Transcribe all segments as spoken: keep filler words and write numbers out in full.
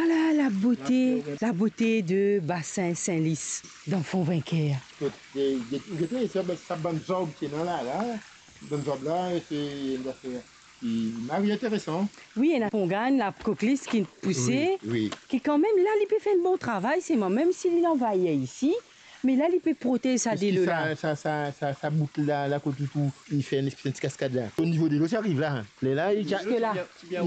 Vwala la bote, la bote de Basin Sin Lis dan Fon Vinker. Kot, eh, get, get sa, sa bann zab ki ena la, la. Bann zab la, se enn zafer ki mari interesan. Wi, ena pongann, la koklis ki pouse, wi, wi, ki kanmem la, li pe fer enn bon travay, se mwa, mem si li anvair isi, me la, li pe protez sa delo la. Sa, sa, sa, sa, sa bout la, la kot ou, ou, li fer enn espes ti kaskad la. O nivo delo, ti ariv la, hein. Lerla, li ti a-, ziska la.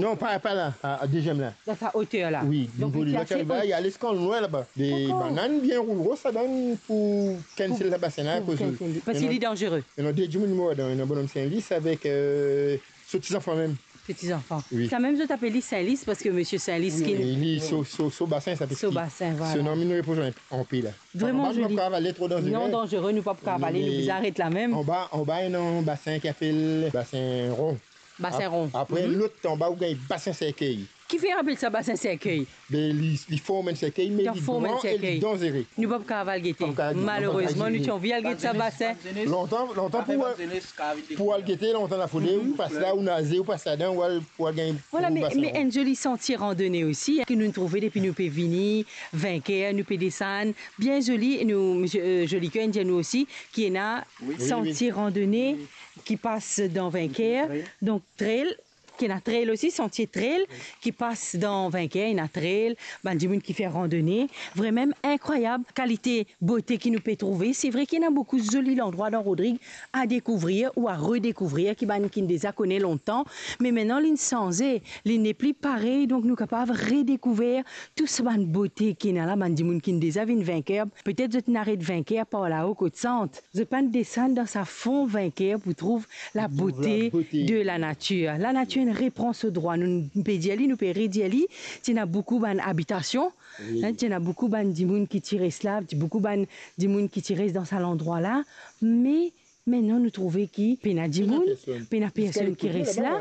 Non, pa, pa la, a, a deziem la. Dan sa oter la. Wi, donk, nivo li ti delo, ti ariv la, li al ziska lwin laba. Dakor. Bann bann bien roul ros ladan pou kennsel sa basin la, pou akoz kennsel li. Parski li danzere. Ena de dimoun mor ladan, ena bonom Sin Lis avek, eh, so ti zanfan mem. So ti zanfan. Wi. Samem zot apel li Sin Lis parski misie Sin Lis ki... Wi, li so, so, so basin sa, parski so basin, vwala, so nom inn repoz an, anpe la. Vreman zoli. Anba nou pa kav ale tro danzere. Non, danzere, nou pa kav ale, nou bizin aret la mem. Anba, anba ena enn basin ki apel Basin Ron. Basin Ron. Ap-, apre, mhm, lot anba ou gagn Basin Serkey. Kifer apel sa Basin Serkey? Be, li, li form enn serkey, me li gran e li danzere. Nou pa kav al gete. Pa kav al gete. Malerezman, nou ti anvi al get sa basin. Lontan, lontan pou, pou al gete, lontan lafole, ou pas la, ou naze, ou pas ladan, ou al, ou al gagn... Vwala, me, me enn zoli santie randone osi, ki nou trouve depi nou pe vini Vinker, nou pe desann, bien zoli, nou, misie, eh, Jolicoeur inn dir nou osi ki ena santie randone ki pas dan Vinker. Wi. Donk, trail, ki ena trail osi, santie trail ki pas dan Vinker, ena trail, bann dimoun ki fer randone. Vremem inkrwayab kalite bote ki nou pe trouve. Se vre ki ena boukou zoli landrwa dan Rodrig a dekouvrir ou a redekouvrir, ki bann ki'nn deza kone lontan, me aster li inn sanze, li nepli parey, donk nou kapav redekouver tou sa bann bote ki ena la. Bann dimoun ki'nn deza vinn Vinker, petet zot inn aret Vinker par lao kot Sant. Zot pa'nn desann dan sa Fon Vinker pou trouv labote de lanatir. Lanatir inn repran so drwa. Nou, nou pe dir li, nou pe redir li, ti ena boukou bann abitasion, hein, ti ena boukou bann dimoun ki ti res la, ti boukou bann dimoun ki ti res dan sa landrwa la, me aster nou trouve ki pena dimoun, pena personn ki res la,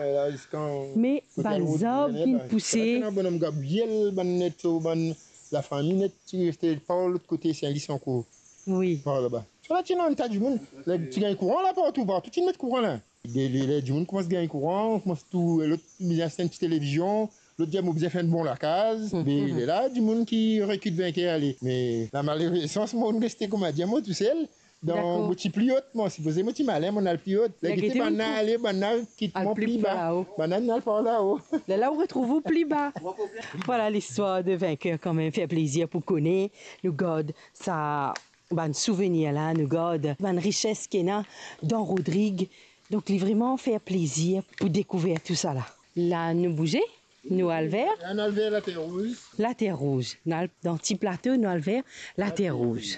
me bann zab ki'nn pouse. Ena bonom Gabriel, bann net, so bann lafami net ti reste par lot kote Sin Lis ankor. Wi. Par laba. Sa la ti ena enn ta dimoun, ler ti gagn kouran la partou, partou ti met kouran la. Ler, ler, ler dimoun koumans gagn kouran, koumans tou, lot bizin aste enn ti televizion, lot dir mo bizin fer enn bon lakaz, me lerla dimoun ki rekit Vinker ale. Me lamalerezans, mo'nn reste kouma dir mo tousel, dan, mo ti pli ot, mo sipoze mo ti malin, mo'nn al pli ot. Ler gete bann la ale, bann la kit mwa pli ba, bann la al par lao. Lerla ou retrouv ou pli ba. Vwala listwar de Vinker kanmem, fer plezir pou kone, nou gard sa bann souvenir la, nou gard bann rises ki ena dan Rodrig. Donk, li vreman fer plezir pou dekouver tousala. La, nou bouze, nou al ver... La, nou al ver Later Rouz. Later Rouz. Nou al dan ti plato, nou al ver Later Rouz.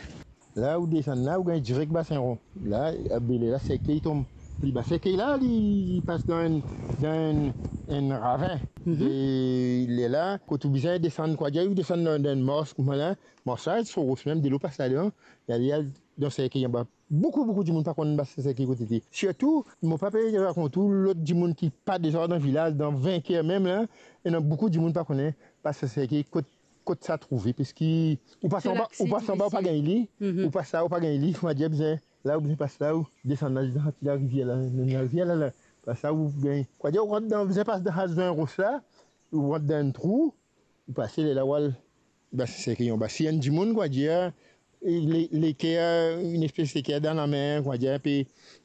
La, ou desann la, ou gagn direk Basin Ron. La, be lerla, serkey tonm pli ba. Serkey la, li, li pas dan enn, dan enn, enn ravin. Mhm. E lerla, kot ou bizin desann, kwa dir, ou desann dan, dan enn mars, kouma la, mars la, so ros mem, delo pas ladan, li al, li al dan serkey anba. Boukou, boukou dimoun pa konn Basin Serkey kot li ete. Sirtou, mo pa pe rakont ou, lot dimoun ki pa deza dan vilaz, dan Vinker mem la, ena boukou dimoun pa kone Basin Serkey kot, kot sa trouve, parski ou pas anba, ou pas anba, ou pa gagn li, mhm, ou pas la, ou pa gagn li, kouma dir bizin, la ou bizin pas la, ou desann la, dan sa ti larivier la, larivier la, la, pas la, ou gagn, kwa dir, ou rant dan, bizin pas dan sa zwenn ros la, ou rant dan enn trou, ou pase, lerla ou al, Basin Serkey anba. Si enn dimoun, kwa dir, le, leker, enn espes leker dan lame, kwa dir, pe,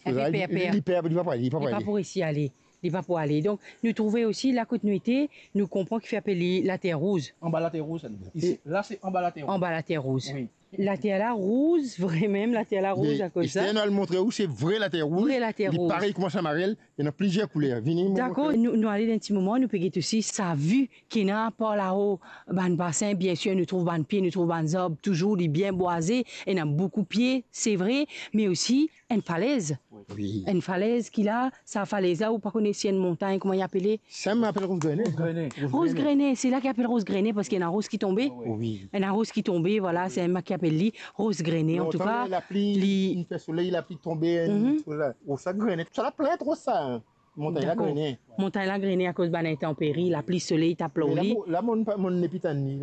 li, li per, li pa pou ale, li pa pou ale. Li pa pou resi ale, li pa pou ale. Donk, nou trouve osi, la kot nou ete, nou konpran kifer apel li Later Rouz. Anba Later Rouz, sa. Isi, la, se anba Later Rouz. Anba Later Rouz. Wi. Later la rouz, vremem, later la rouz, akoz sa. Ester, nou al montre ou, se vre later rouz. Vre later rouz. Li parey kouma sa marel, ena plizier kouler. Vini, mo montre ou. Dakor, nou, nou ale dan enn ti moman, nou pe get osi sa vi ki ena par lao, bann basin, biensir, nou trouv bann pie, nou trouv bann zab, touzour li bien bwaze, ena boukou pie, se vre, me osi enn falez. Wi. Enn falez ki la, sa falez la, ou pa kone si enn montagn, kouma li apele? Sa mo apel Roz Grene. Roz Grene. Roz Grene, se la ki apel Roz Grene, parski ena roz ki tonbe. Wi. Ena roz ki tonbe, vwala, se enn ki apel li Roz Grene. Antouka, lontan, lapli, li inn fer soley, lapli tonbe, enn, mhm, sos la. Roz sa grene. Sa la plin tro sa, hein. Montagn la Dakor. Grene. Montagn la grene akoz bann intanperi, lapli, soley, tap lor Me la, li. mo- la, mo pa, mo nepli tann li.